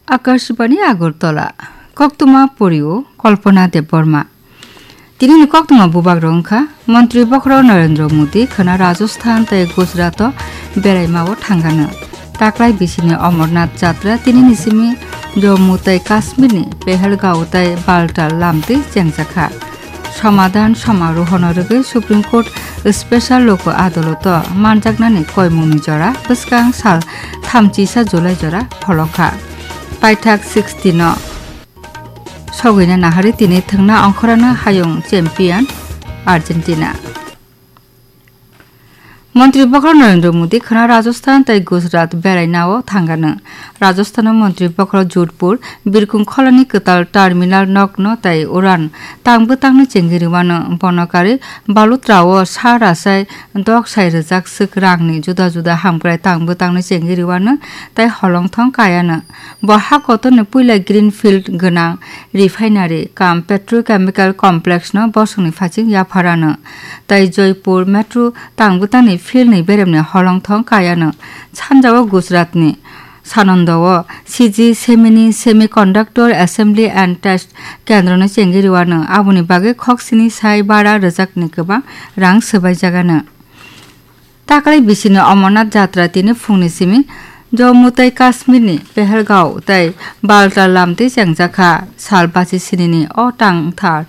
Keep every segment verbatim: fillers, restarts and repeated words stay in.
Akashbani Agartala, koktwma porio Kalpana Debbarma. Tinini koktwma bubagrok wngkha, Montri Bokhorok Narendra Modi khwna Rajasthan tei Gujarat-o beraimao thangano. Taklai bisini Amarnath Jatra tinini simi Jammu tei Kashmirni Pahalgao tei Baltal lamtwi chengjakha. Somadhan samarohono rwgwi Supreme Court Special Lok Adaloto manjaknani koimungni jora bwskang sal thamchisa July jora pholokha. Paithak sixty no sogwina nahari tini thwngna ongkhorano hayung champion Argentina. Montri Bokhorok Narendra Modi khwna Rajasthan tei Gujarat berainao thangano. Rajasthano Montri Bokhorok Jodhpur, Birkhung kholani kwtal terminal nokno tei uran tangbwtangno chengwi rwano. Bono karwi Balutrao sa rasai dok sai rwjak swk rangni juda juda hamkrai tangbwtangno chengwi rwano tei holongthong kayano. Bo ha kotorni puila Greenfield gwnang refinery cum petrochemical complex no bosongni phaising yapharano tei Joypur metro tangbwtangni field ni beremni holongthong kayano. Sanjao Gujaratni Sanandao C G Semini Semiconductor Assembly and Test Kendrono chengwi rwano, aboni bagwi khoksini sai bara rwjakni kwbang rang swbaijagano. Taklai bisini Amarnath Jatra tini phungni simi Jammu tei Kashmirni Pahalgao tei Baltal lamtwi chengjakha. Sal basi sinini o tangthar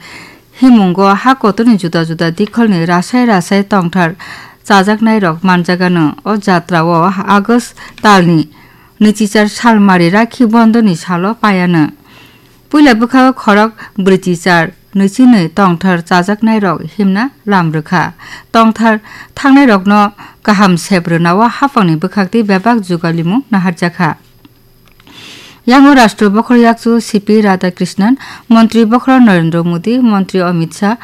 himungo ha kotorni juda juda dikholni rasai rasai tongthar chajaknairok manjagano. O jatrao August talni nwichichar salmari Rakhi Bondhoni salo paiano. Puila bwkhago khorok brwichichar nwichini tongthar chajaknairok himna lam rwkha. Tongthar thangnairokno kaham sep rwnao haphangni bwkhaktwi bebak jugalimung naharjakha. Yango Rashtra Bokhorok Yakchu C P Radhakrishnan, Montri Bokhorok Narendra Modi, Montri Amit Shah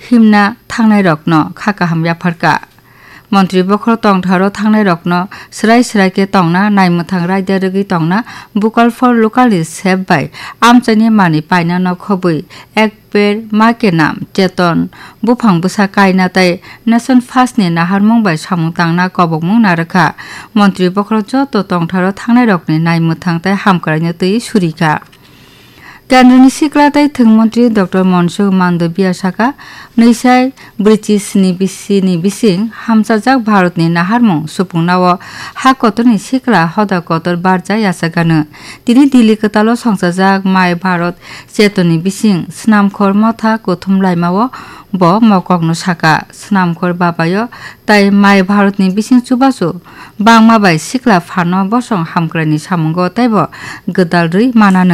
himna thangnairokno kha kaham yapharkha. Montri Bokhorok tongtharo thangnairokno swrai swrai khe tongna, naimwthang raida rwgwi tongna, Vocal for Local ni sep bai amchaini manwi paina nokhobwi Ek Ped Maa Ke Naam, Chetan, buphang bwsa kaina tei Nation First ni naharmung bai samung tangna kobokmung narwkha. Montri Bokhorok joto tongtharo thangnairokni naimwthang tei hamkraino twi surikha. Kendroni sikla tei thwng montri Doctor Mansukh Mandaviya saka, nwisai brwichi sni bisini bising hamchajak Bharatni naharmung supungnao ha kotorni sikla hoda kotor barja yachakgano. Tini Delhi kwtalo songchajak My Bharat Chetanni bising Snamkhor Motha kuthum laimao bo mokokno saka, Snamkhor Babayo tai My Bharatni bising chubachu bangma bai sikla phano bosong hamkraini samungo teibo gwdal rwi manano.